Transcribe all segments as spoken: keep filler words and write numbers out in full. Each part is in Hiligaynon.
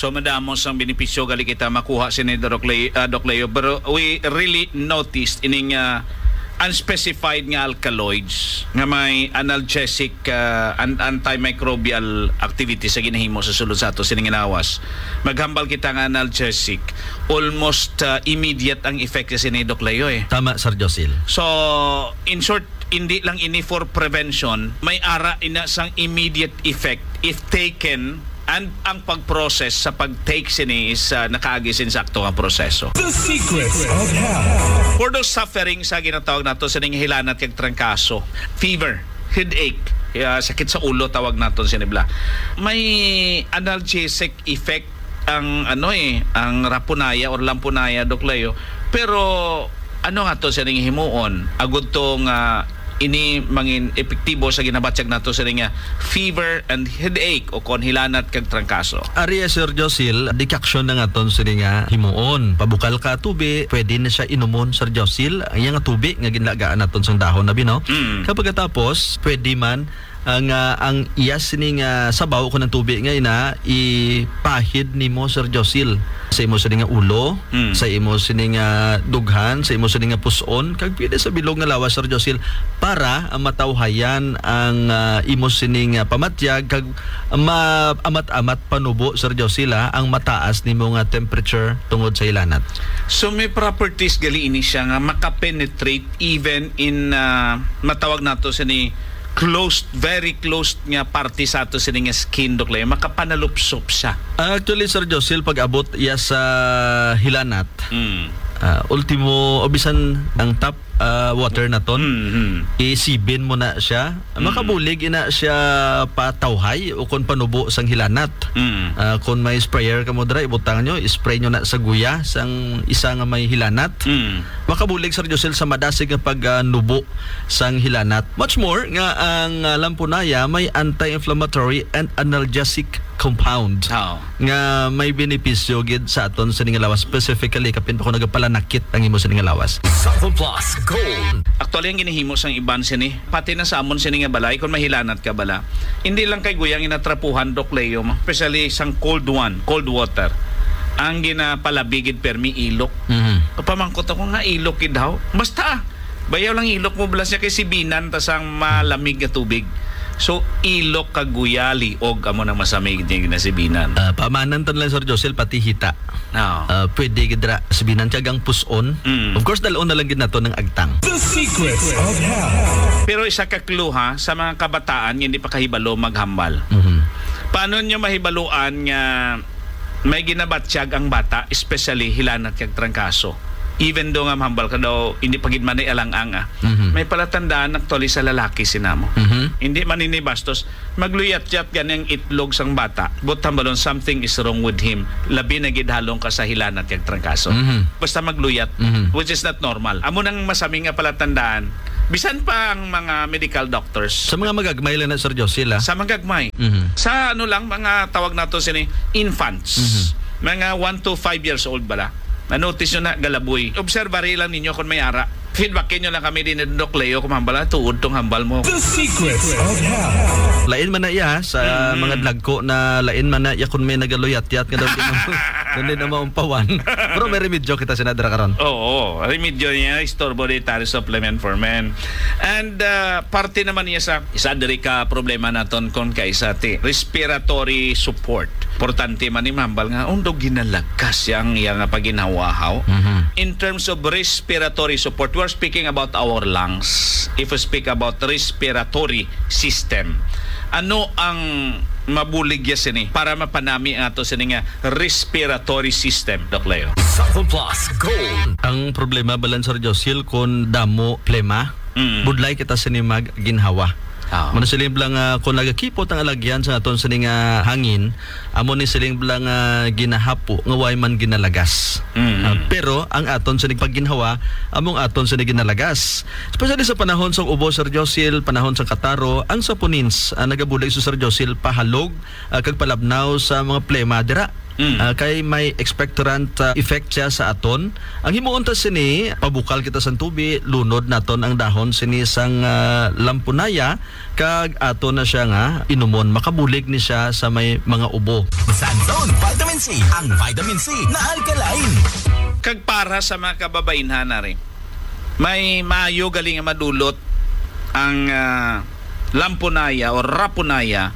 So, madamo sang benepisyo gali kita makuha sini, Doc Leo, ah, Doc Leo, pero we really noticed ining, ah, unspecified nga alkaloids nga may analgesic, ah, an-, antimicrobial activity sa ginahimo sa sulod sa ato sining lawas. Maghambal kita nga analgesic, almost, ah, immediate ang effect sa sini, Doc Leo, eh. Tama, Sir Josil. So, in short, hindi lang ini for prevention, may ara ina sang immediate effect if taken, and ang pag-process sa pag-take sini is, ah, nakaagi sa insakto nga proseso. The Secrets of Health. For those suffering sa ginatawag nato sining hilanat kag trangkaso, fever, headache, ah, sakit sa ulo tawag naton sini bala. May analgesic effect ang, ano, eh, ang rapunaya or lampunaya, Doc Leo. Pero ano nga to sining himuon agud to nga ini mangin epektibo sa ginabatyag nato sini nga fever and headache o kon hilanat kag trangkaso? Ari, Sir Josil, decoction na nga ton sini nga himuon. Pabukal ka tubi, pwede na siya inumon, Sir Josil. Ang iya nga tubi nga ginlagaan naton sang dahon na bino. Mm. Kapag katapos, pwede man ang, ah, ang iya sini nga sabaw kon ang tubi nga ina ipahid nimo, Sir Josil, sa imo sini nga ulo, Mm. sa imo sini nga dughan, sa imo sini nga pus-on, kag pwede sa bilog nga lawas, Sir Josil, para, ah, matawhayan ang, ah, imo sini nga pamatyag kag maamat-amat panubo, Sir Josil, ah, ang mataas nimo nga temperature tungod sa hilanat. So, may properties gali ini siya nga makapenetrate even in, ah, matawag nato sini closed, very closed nga parte sa ato sini nga skin, Doc Leo, makapanalupsop siya. Ah, actually, Sir Josil, pag-abot iya sa hilanat, Mm. ah, ultimo, o bisan ang tap, ah, water naton, Mm, mm. isibin mo na siya. Mm. Makabulig ina siya patawhay o kon panubo sang hilanat. Mm. Ah, kon may sprayer kamo dira, ibutang nyo, spray nyo na sa guya sang isa nga may hilanat. Mm. Makabulig, Sir Josil, sa madasig nga pag, ah, nubo sang hilanat. Much more nga ang, ah, lampunaya may anti-inflammatory and analgesic compound Oo. nga may benepisyo gid sa aton sini nga lawas, specifically kapin pa kung nagapalanakit ang imo sini nga lawas. Sample Plus Gold. Actually, ang ginahimo sang iban sini, pati na sa amon sini nga balay, kung mahilanat ka bala, hindi lang kay guyang inatrapuhan, Doc Leo, especially sang cold one, cold water, ang ginapalabi gid permi ilok. Mhm. Pamangkot ako nga ilok gid daw. Basta, bayaw lang ilok mo, blas niya kay sibinan ta sang malamig nga tubig. So, ilok kag guyali og amo nang masamig din ginasibinan. Ah, pamanan tan lang, Sir Josel, pati hita. Oo. Ah, pwede gid ra sibinan kag ang pus-on. Mm. Of course, dal-on na lang gid nato ng agtang. The Secrets of Health. Pero isa ka clue, ha, sa mga kabataan nga hindi pa kahibalo maghambal. Mhm. Paano nyo mahibaluan nga may ginabatyag ang bata, especially hilanat kag trangkaso? Even though nga mahambal ka daw, hindi pa gid man ay alang-ang, ah. Mhm. May palatandaan actually sa lalaki sinamo. Mhm. Hindi man ini bastos, magluyat-yat gani ang itlog sang bata. But hambalon, something is wrong with him. Labi na gid halong ka sa hilanat kag trangkaso. Mhm. Basta magluyat, Mhm. which is not normal. Amo nang masami nga palatandaan. Bisan pa ang mga medical doctors. Sa mga magagmay lang na, Sir Josel, ah. Sa magagmay. Mhm. Sa ano lang, mga tawag nato sini, infants. Mhm. Mga one to five years old bala. Na-notice nyo na, galaboy. Observary lang ninyo kung may ara. Feedbackin nyo lang kami din, Doc Leo, kung hambal na tuod tong hambal mo. The Secrets of Health. Lain man na iya sa Mm. mga dlagko na lain man na iya kung may nagaluyat-yat nga daw di na, daw di na maumpawan. Pero may remedyo kita sinadra karon. Oo, remedyo niya, istorbo dietary supplement for men. And, uh, parte naman niya sa isa diri ka problema naton kon kaisa ti respiratory support. Importante man ni mahambal nga, undo ginalagas siya ang iya nga paginhawahaw. Mhm. In terms of respiratory support, we're speaking about our lungs. If we speak about respiratory system, ano ang mabulig ya sini para mapanami ang ato sini nga respiratory system, Doc Leo? Sample Plus Gold. Ang problema, balan, Sir Josil, kung damo plema, Mm. budlay kita sini mag ginhawa. Ah. Mano siling bala nga kung nagakipot ang alagyan sa aton sini nga hangin, amo ni siling bala nga ginahapo nga way man ginalagas. Mm. Ah, pero ang aton sini pagginhawa, among aton sini ginalagas. Especially sa panahon sa ubo, Sir Josil, panahon sa kataro, ang saponins, ah, nagabulig sa Sir Josil pahalog, ah, kag palabnaw sa mga plema dira. Mm. Ah, kay may expectorant, ah, effect siya sa aton. Ang himuon ta sini, pabukal kita sang tubi, lunod naton ang dahon sini sang, ah, lampunaya, kag ato na siya nga inumon. Makabulig ni siya sa may mga ubo. Sa Zone Vitamin C, ang vitamin C na alkaline. Kag para sa mga kababainhan na rin, may maayo gali nga madulot ang, ah, lampunaya o rapunaya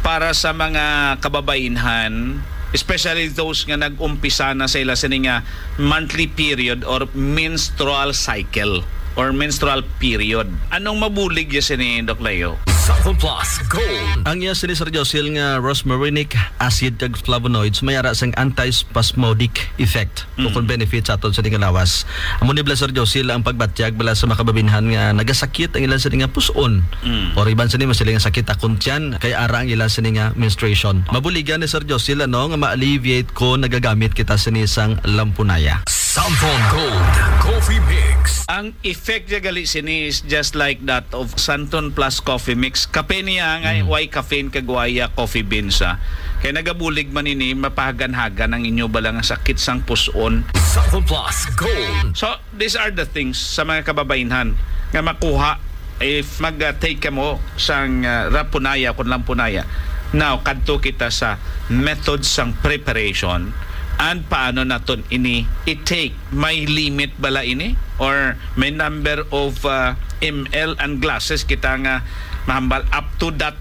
para sa mga kababainhan, especially those nga nag-umpisa na sa ila sini nga monthly period or menstrual cycle or menstrual period. Anong mabulig ya sini, Doc Leo? Sample Plus Gold. Ang iya sini, Sir Josil, nga rosmarinic acid kag flavonoids may ara sang antispasmodic effect o Mm. kon benefit sa aton sini nga lawas. Amo ni bala, Sir Josil, ang pagbatyag bala sa mga kababainhan nga nagasakit ang ilang sini nga pus-on. Mm. Or iban sini, mas sila nga sakit akong tiyan, kay ara ang ilang sini nga menstruation. Mabuligan ni Sir Josil, ano, nga ma-alleviate ko nagagamit kita sini sang lampunaya. Sample Gold Coffee Mix. Ang effect niya gali sini is just like that of Santon Plus Coffee Mix. Kape niya nga Mm. way caffeine kag way, ah, coffee beans, ah. Kay nagabulig man ini, mapahagan-hagan ang inyo bala nga sakit sang pus-on. Sample Plus Gold. So, these are the things sa mga kababainhan nga makuha if mag-, ah, take kamo sang, ah, rapunaya kon lampunaya. Now, kadto kita sa method sang preparation and paano naton ini i-take. May limit bala ini? Or may number of, ah, M L and glasses kita nga mahambal up to that,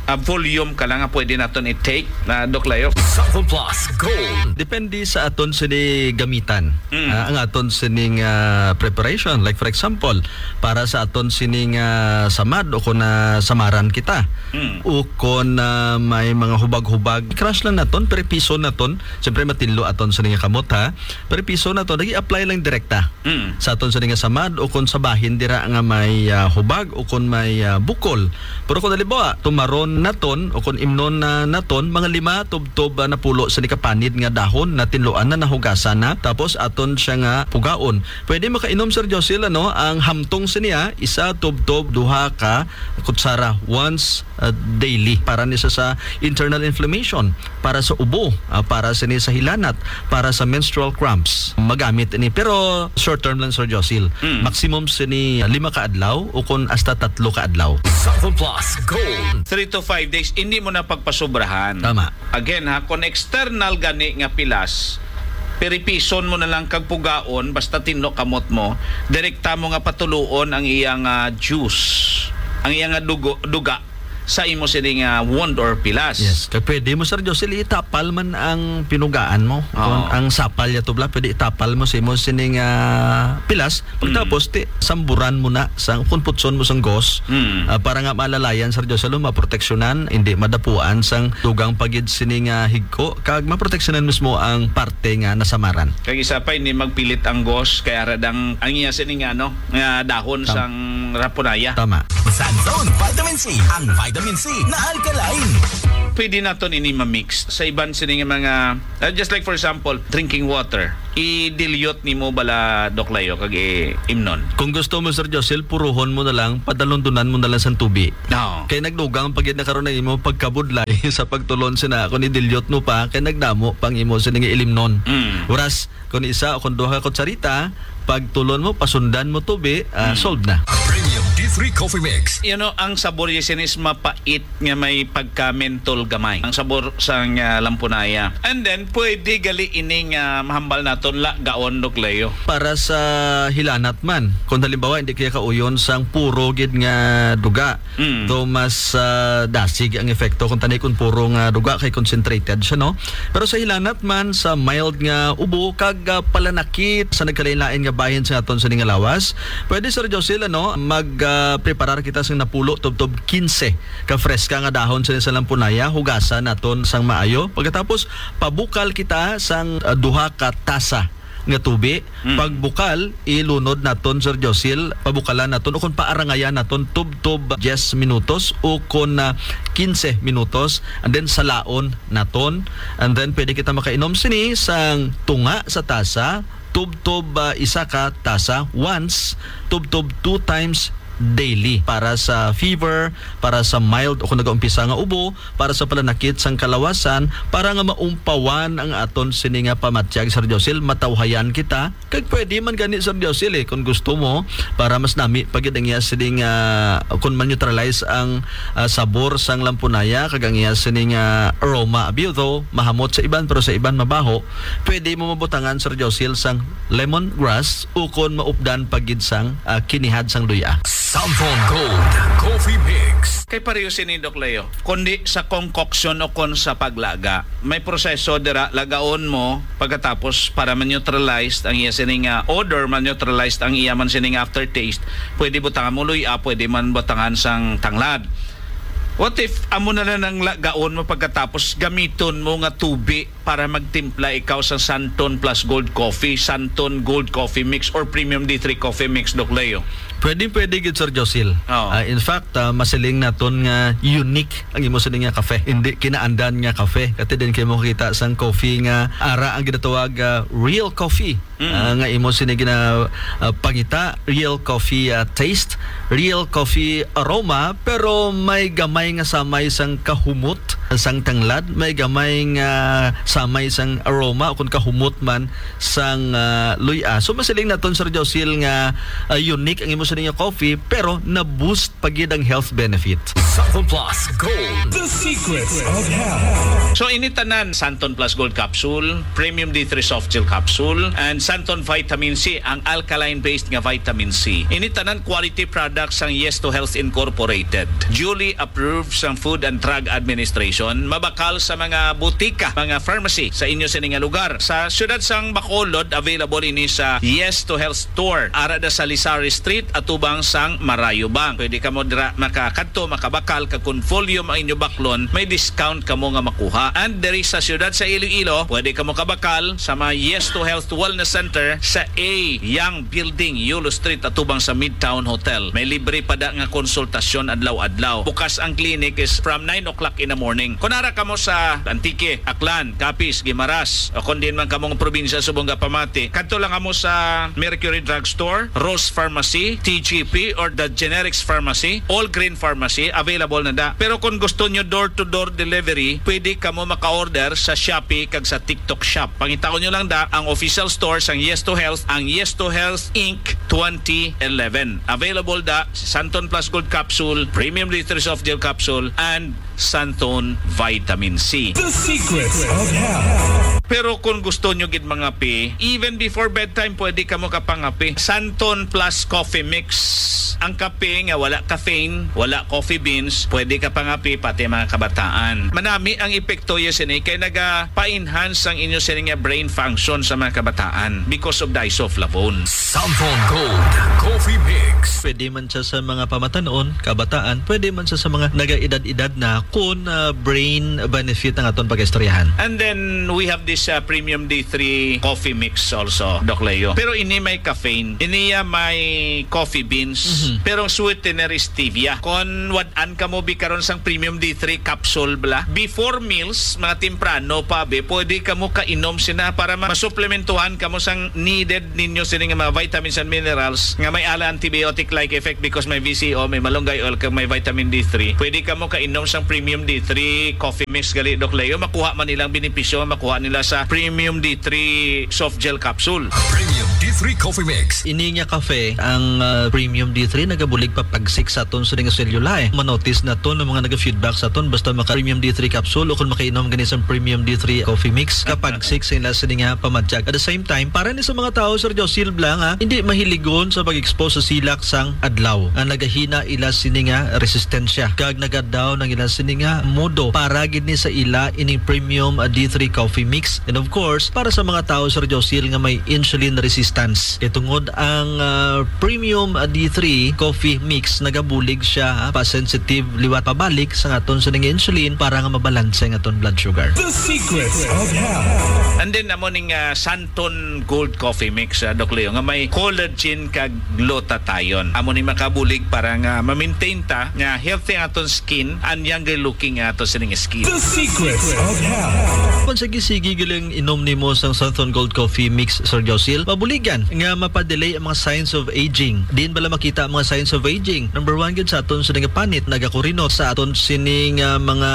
ah, volume ka lang nga pwede naton i-take, na Doc Leo? Sample Plus Gold. Depende sa aton sini gamitan. Mm. Ah, ang aton sining, ah, preparation. Like, for example, para sa aton sining, ah, samad o kung, ah, samaran kita. Mm. O kung, ah, may mga hubag-hubag, crush lang naton, pero piso naton. Siyempre, matinlo aton sining kamot, ha? Pero piso naton, nag-i-apply lang direkta Mm. sa aton sini nga samad o kon sa bahin dira nga may, ah, hubag o kon may, ah, bukol. Pero kung halimbawa, tumaron naton o kon imnon na naton, mga lima tubtob, ah, na pulo sini ka panid nga dahon na tinluan na, nahugasan na, tapos aton siya nga pugaon. Pwede makainom, Sir Josil, ano, ang hamtong sini, ah, isa tubtob duha ka kutsara once, ah, daily para ni sa, sa internal inflammation, para sa ubo, ah, para sini sa hilanat, para sa menstrual cramps. Magamit ini, pero short term lang, Sir Josil. Mm. Maximum sini lima ka adlaw o kon hasta tatlo ka adlaw. Sample Plus Gold. Three to five days, hindi mo na pagpasubrahan. Tama. Again, ha, kung external gani nga pilas, piripison mo na lang kag pugaon, basta tinlo kamot mo, direkta mo nga patuloon ang iyang, ah, juice, ang iyang, ah, dugo, duga sa imo sini nga wound or pilas. Yes, kay pwede mo, Sir Josil, itapal man ang pinugaan mo. Oo. Kung ang sapal ya tubla, pwede itapal mo sa imo sini nga pilas. Pagtapos, Mm. ti, samburan mo na sang, kung putson mo sang gos, Mm. ah, para nga malalayan, Sir Josil, maproteksyonan, hindi madapuan sang dugang pagid sini nga higko, kag maproteksyonan mismo ang parte nga nasamaran. Kag isa pa, hindi magpilit ang gos, kay ara dang, ang iya sini nga, ano, nga dahon Tam- sang rapunaya. Tama. Sa Zone Vitamin C, ang vitamin C na alkaline. Pwede naton ini ma-mix sa iban sini nga mga, uh, just like for example, drinking water. I-dilute nimo bala, Doc Leo, kag i-, imnon. Kung gusto mo, Sir Josil, puruhon mo na lang, padalundunan mo na lang sang tubi. Oo. Kay nagdugang pa gid na karon ang imo pagkabudlay sa pagtulon sina, kung i-dilute mo pa, kay nagdamo pang imo sini nga ilimnon. Mm. Whereas, kung isa o kung duha ka kutsarita, pagtulon mo, pasundan mo tubi, ah, Mm. solved na. Premium D three Coffee Mix. You know, ang sabor ya sini is mapait nga may pagka-menthol gamay. Ang sabor sang, ah, lampunaya. And then, pwede gali ini nga mahambal naton la gaon, Doc Leo. Para sa hilanat man, kung halimbawa, hindi kaya kauyon sang puro gid nga duga, Mm. though mas, ah, dasig ang epekto kung tani kung puro nga duga kay concentrated siya, no? Pero sa hilanat man, sa mild nga ubo, kag, ah, palanakit sa nagkalain-lain nga bahin sa aton sini nga lawas, pwede, Sir Josil, ano, mag, ah, preparar kita sing napulo tubtob kinse ka freska nga dahon sini sa lampunaya, hugasan naton sang maayo. Pagkatapos, pabukal kita sang, ah, duha ka tasa nga tubi. Mm. Pagbukal, ilunod naton, Sir Josil, pabukalan naton o kung paarangayan naton tubtob diyes minutos o kung, ah, kinse minutos, and then salaon naton. And then pwede kita makainom sini sang tunga sa tasa, tubtob, ah, isa ka tasa once, tubtob two times daily para sa fever, para sa mild o kung nagaumpisa nga ubo, para sa pananakit sang kalawasan, para nga maumpawan ang aton sini nga pamatyag, Sir Josil, matawhayan kita. Kag pwede man gani, Sir Josil, eh, kung gusto mo, para mas nami pa gid ang iya sining, ah, kung ma-neutralize ang, ah, sabor sang lampunaya kag ang iya sining, ah, aroma. Abi, though mahamot sa iban, pero sa iban mabaho, pwede mo mabutangan, Sir Josil, sang lemongrass ukon maupdan pa gid sang, ah, kinihad sang luya. Samson Gold Coffee Mix. Kay pareho sini, Doc Leo, kundi sa concoction o kon sa paglaga. May proseso dira, lagaon mo pagkatapos para ma-neutralize ang iya sining, ah, odor, ma-neutralize ang iya man sining aftertaste. Pwede butangan mo luya, pwede man butangan sang tanglad. What if amo na lang ang lagaon mo pagkatapos gamiton mo nga tubi para magtimpla ikaw sa Santon Plus Gold Coffee, Santon Gold Coffee Mix, or Premium D three Coffee Mix, Doc Leo? Pwede, pwede gid, Sir Josil. Oo. Ah, in fact, ah, masiling naton nga unique ang imo sini nga kafe. Hindi kinaandan nga kafe. Kati din kay mo kita sang coffee nga ara ang ginatawag, ah, real coffee. Mm. Ah, nga imo sini gina, ah, pangita, real coffee, ah, taste, real coffee aroma, pero may gamay nga samay sang kahumot sang tanglad, may gamay nga samay sang aroma o kung kahumot man sang, ah, luya. So, masiling naton, Sir Josil, nga, ah, unique ang imo sini nga coffee, pero na-boost pa gid ang health benefit. Santon Plus Gold. The Secrets of Health. So, ini tanan, Santon Plus Gold Capsule, Premium D three Soft Gel Capsule, and Santon Vitamin C, ang alkaline-based nga vitamin C. Ini tanan quality products sang Yes to Health Incorporated. Duly approved sang Food and Drug Administration. Mabakal sa mga butika, mga pharmacy sa inyo sini nga lugar. Sa siyudad sang Bacolod, available ini sa Yes to Health Store. Ara da sa Lizari Street, atubang sang Marayo Bank. Pwede kamo dira makakadto, makabakal, kag kung volume ang inyo baklon, may discount kamo nga makuha. And diri sa siyudad sa Iloilo, pwede kamo kabakal sa mga Yes to Health Wellness Center sa A Young Building, Yulo Street, atubang sa Midtown Hotel. May libre pa da nga konsultasyon adlaw-adlaw. Bukas ang clinic is from nine o'clock in the morning. Kung ara kamo sa Antique, Aklan, Capiz, Guimaras, o kung diin man kamo nga probinsya subong nga Pamati, kadto lang kamo sa Mercury Drugstore, Rose Pharmacy, T G P, or the Generics Pharmacy, All Green Pharmacy, available na da. Pero kung gusto nyo door-to-door delivery, pwede kamo maka-order sa Shopee kag sa TikTok Shop. Pangitaon nyo lang da ang official store sang Yes to Health, ang Yes to Health Inc twenty eleven. Available da si Santon Plus Gold Capsule, Premium D three Soft Gel Capsule, and Santon Vitamin C. The Secrets of Health. Pero kung gusto nyo gid mangape, even before bedtime, pwede kamo kapangape. Santon Plus Coffee Mix. Ang kape nga wala caffeine, wala coffee beans, pwede kapangape pati mga kabataan. Manami ang epekto ya sini kay nagapaenhance ang inyo sini nga brain function sa mga kabataan because of the isoflavone. Santon Gold Coffee Mix. Pwede man siya sa mga pamatanon, kabataan, pwede man siya sa mga nagaedad-edad na kung, ah, brain benefit ang aton pag-istoryahan. And then we have this, uh, Premium D three Coffee Mix also, Doc Leo. Pero ini may caffeine. Ini ya may coffee beans. Mhm. Pero ang sweetener is stevia. Kon wad-an kamo bi karon sang Premium D three capsule bala, before meals, mga temprano pa bi, pwede kamo kainom sina para ma-, masuplementuhan kamo sang needed ninyo sini nga mga vitamins and minerals nga may ala antibiotic-like effect because may V C O, may malunggay oil, kag may vitamin D three. Pwede kamo kainom sang Premium D three Coffee Mix gali, Doc Leo. Makuha man nilang benepisyo nga makuha nila sa Premium D three Soft Gel Capsule. Premium D three Coffee Mix. Ini nga kafe, ang, ah, Premium D three nagabulig papagsik sa aton sini nga selula, eh. Manotice naton ang mga naga-feedback sa aton basta maka Premium D three capsule o kung makainom gani sa Premium D three Coffee Mix, kapagsik sila sini nga pamatyag. At the same time, para ni sa mga tawo, Sir Josil, bala nga hindi mahiligon sa pag-expose sa silak sang adlaw, nga nagahina ila sini nga resistensya kag nagadaw ang ila sini nga modo para gid ni sa ila ining Premium, ah, D three Coffee Mix. And of course, para sa mga tawo, Sir Josil, nga may insulin resistance. Kay tungod ang, ah, Premium, ah, D three Coffee Mix, nagabulig siya, ah, pa-sensitive liwat pabalik sa aton sini nga insulin para nga mabalanse ang aton blood sugar. The Secrets of Health. And then, amo ning, ah, Santon Gold Coffee Mix, ah, Doc Leo, nga may collagen kag glutathione. Amo ni makabulig para nga ma-maintain ta nga healthy ang aton skin and younger looking ang aton sining skin. The Secrets of Health. Sige-sige galing inom nimo sang Santhon Gold Coffee Mix, Sir Josil. Mabuligan nga mapadelay ang mga signs of aging. Diin bala makita ang mga signs of aging? Number one gid sa aton sa nga panit, nagakurinot sa aton sini nga mga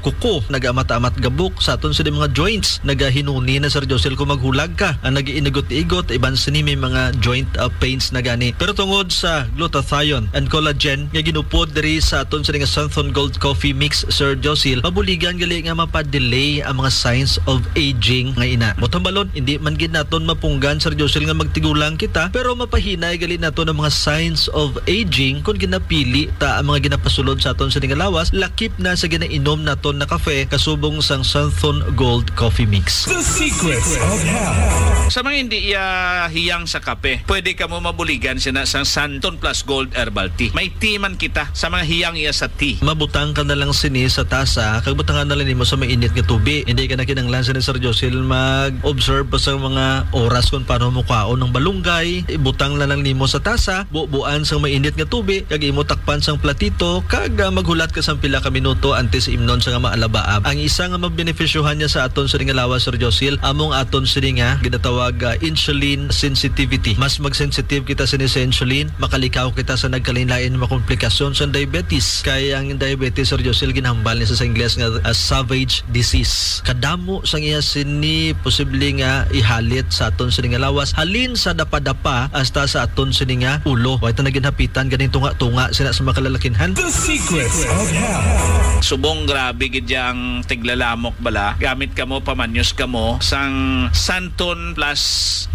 kuko, nagaamat-amat gabok sa aton sini mga joints, nagahinuni na, Sir Josil, kung maghulag ka, ang nag-iinigot-igot, iban sini may mga joint, uh, pains na gani. Pero tungod sa glutathione and collagen nga ginupod diri sa aton sini nga Santhon Gold Coffee Mix, Sir Josil, mabuligan gali nga mapadelay ang mga signs of aging nga ina. Buot hambalon, hindi man gid naton mapunggan, Sir Josil, nga magtigulang kita, pero mapahinay gali naton ang mga signs of aging kung ginapili ta ang mga ginapasulod sa aton sini nga lawas, lakip na sa ginainom naton na kafe kasubong sang Santhon Gold Coffee Mix. The Secrets of Health. Sa mga hindi iya hiyang sa kape, pwede kamo mabuligan sina sang Santhon Plus Gold Herbal Tea. May tea man kita sa mga hiyang iya sa tea. Mabutang ka na lang sini sa tasa, kag butangan na lang nimo sa mainit nga tubi. Hindi ka na kinahanglan sini, Sir Josil, mag-observe pa sa mga oras kung paano mo kwaon ang balunggay. Ibutang na lang nimo sa tasa, bubuan sang mainit nga tubi, kag imo takpan sang platito, kag, ah, maghulat ka sang pila ka minuto antes imnon sa nga maalabaab. Ang isa nga mabenepisyohan niya sa aton sini nga lawas, Sir Josil, among aton sini nga ginatawag, ah, insulin sensitivity. Mas mag-sensitive kita sini sa insulin, makalikaw kita sa nagkalainlain nga mga komplikasyon sa diabetes. Kay ang diabetes, Sir Josil, ginhambal ni sa, sa Ingles nga, ah, savage disease. Kadamo sang iya sini posible nga ihalit sa aton sini nga lawas, halin sa dapadapa hasta sa aton sini nga ulo. Wa ta na ginhapitan ganing tunga-tunga sina sa mga kalalakinhan. The Secrets of Health. Subong grabe gid ya ang tiglalamok bala. Gamit kamo, pamanyos kamo sang Santon Plus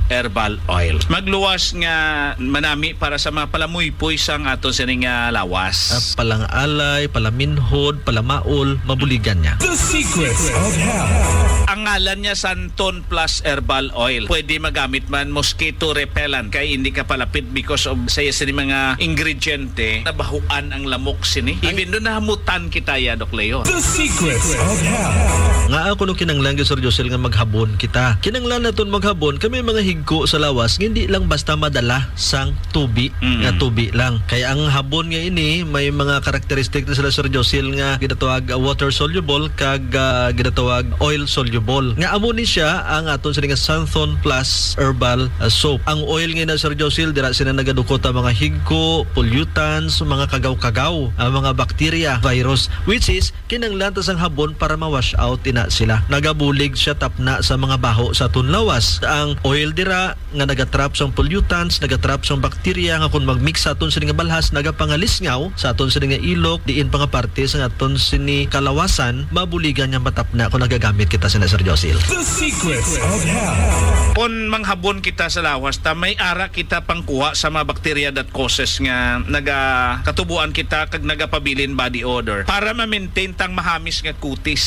Herbal Oil. Magluwas nga manami para sa mga palamuypoy sang aton sini nga lawas. Ah, palangalay, palaminhod, palamaol, mabuligan niya. The Secrets of Health. Ang ngalan niya Santon Plus Herbal Oil. Pwede magamit man mosquito repellent kay hindi ka palapit because of sa iya sini mga ingrediente, nabahuan ang lamok sini. Even doon nahamutan kita ya, Doc Leo. The Secrets of Health. Nga ako no kinanglan, Sir Josil, nga maghabon kita. Kinanglan naton maghabon kay may mga higko sa lawas nga hindi lang basta madala sang tubi, mm, nga tubi lang. Kay ang habon nga ini may mga karakteristik na sila, Sir Josil, nga ginatawag, uh, water soluble kag, uh, ginatawag oil soluble. Nga amo ni siya ang aton sini nga Santhon Plus Herbal, uh, Soap. Ang oil nga ina, Sir Josil, dira sina nagadukot ang mga higko, pollutants, mga kagaw-kagaw, ang mga bakterya, virus, which is kinanglan ta sang habon para ma-wash out ina sila. Nagabulig siya tapna sa mga baho sa aton lawas. Ang oil dira nga nagatrap sang pollutants, nagatrap sang bakterya nga kon mag-mix sa aton sini nga balhas, nagapangalisngaw sa aton sini nga ilok, diin pa nga parte sa aton sini kalawasan, mabuligan nga matapna kung nagagamit kita sina, Sir Josil. The Secrets of Health. Kon manghabon kita sa lawas ta, may ara kita pangkuha sa mga bakterya that causes nga nagakatubuan kita kag nagapabilin body odor para ma-maintain tang mahamis nga kutis.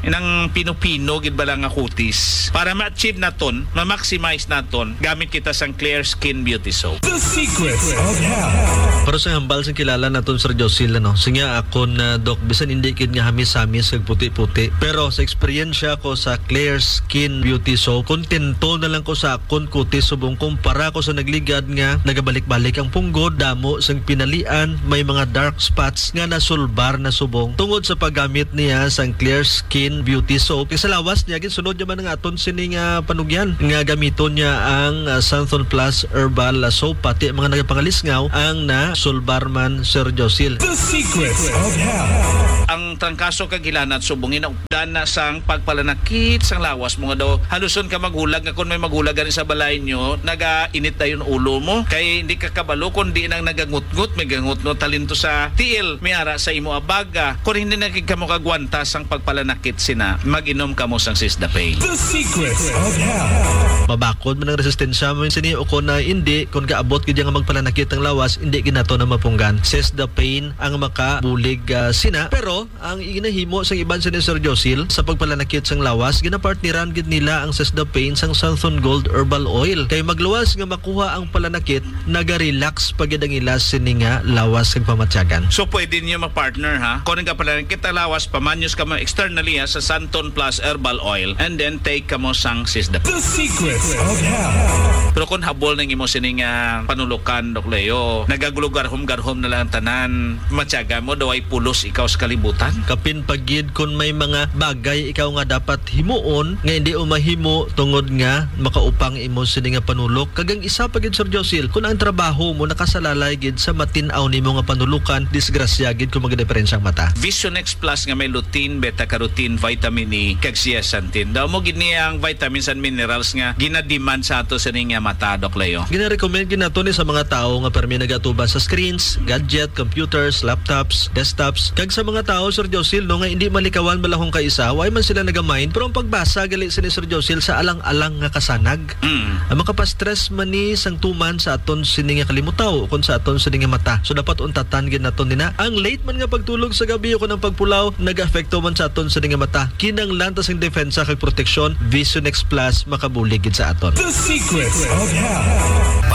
Inang pino-pino gid bala nga kutis. Para ma-achieve naton, ma-maximize naton, gamit kita sang Clear Skin Beauty Soap. The Secrets of Health. Pero sa hambal sang kilala naton, Sir Josil, ano, siya akon, ah, Doc, bisan hindi gid nga hamis-hamis kag puti-puti, pero sa eksperyensya ko sa Clear Skin Beauty Soap, kontento na lang ko sa akon kutis subong kumpara ko sa nagligad nga nagabalik-balik ang punggod, damo sang pinalian, may mga dark spots nga nasulbar na subong tungod sa paggamit niya sang Clear Skin Beauty Soap. Kay sa lawas niya, ginsunod niya man ang aton sini nga panugyan nga gamiton niya ang, ah, Santhon Plus Herbal, ah, Soap, pati ang mga nagapangalisngaw ang nasulbar man, Sir Josil. The Secrets of Health. Ang trangkaso kag hilanat subong ginaupdan na sang pagpalanakit sang lawas mo nga daw haluson ka maghulag nga kon may maghulag gani sa balay nyo, nagainit dayon ulo mo. Kay hindi ka kabalo kon diin ang nagangutngot, may gangutngot talento sa tiil, may ara sa imo abaga. Kon hindi na gid kamo kagwanta sang pagpalanakit sina, mag-inom kamo sang Sisda Pain. The Secrets of Health. Mabakod man ang resistensya mo sini o kon na hindi, kon kaabot gid nga magpalanakit ang lawas, hindi gid nato na mapunggan. Sisda Pain ang makabulig, ah, sina. Pero ang ginahimo sang iban sini, Sir Josil, sa pagpalanakit sang lawas, ginapartneran gid nila ang Sisda Pain sang Santhon Gold Herbal Oil. Kay magluwas nga makuha ang palanakit, naga-relax pa gid ang ila sini nga lawas kag pamatyagan. So, pwede niyo ma-partner, ha? Kung nagapalanakit ang lawas, pamanyos kamo externally, ha, sa Santon Plus Herbal Oil, and then take kamo sang Sisda. The Secrets of Health. Pero kung habol nang imo sini nga panulukan, Doc Leo, nagaglugarhom-garhom na lang ang tanan, matyaga mo daw ay pulos ikaw sa kalibutan. Kapin pa gid kung may mga bagay ikaw nga dapat Muon nga hindi mo mahimo tungod nga makaupang imo sini nga panulok, kag ang isa pa gid, Sir Josil, kun ang trabaho mo nakasalalay gid sa matin-aw nimo nga panulokan, disgrasya gid kung magadiperensyang mata. Visionex Plus nga may lutein, beta-carotene, vitamin E, kag zeaxanthin. Daw mo gid niya ang vitamins and minerals nga ginademand sa ato sa ning nga mata, Doc Leo. Ginarecommend gid nato ni sa mga tawo nga permi nagatuban sa screens, gadget, computers, laptops, desktops, kag sa mga tawo, Sir Josil, no, nga hindi malikawan malahong kaisa, way man sila nagamain, pero ang pagbasa gali sini, Sir Josil, sa alang-alang nga kasanag. Mm. Ang makapastress man ni sang tuman sa aton sini nga kalimutaw ukon sa aton sini nga mata. So dapat untatan gid naton nina. Ang late man nga pagtulog sa gabi ukon ang pagpulaw nag-apekto man sa aton sini nga mata. Kinahanglan ta sing depensa kag proteksyon. Visionex Plus makabulig gid sa aton. The Secrets of Health.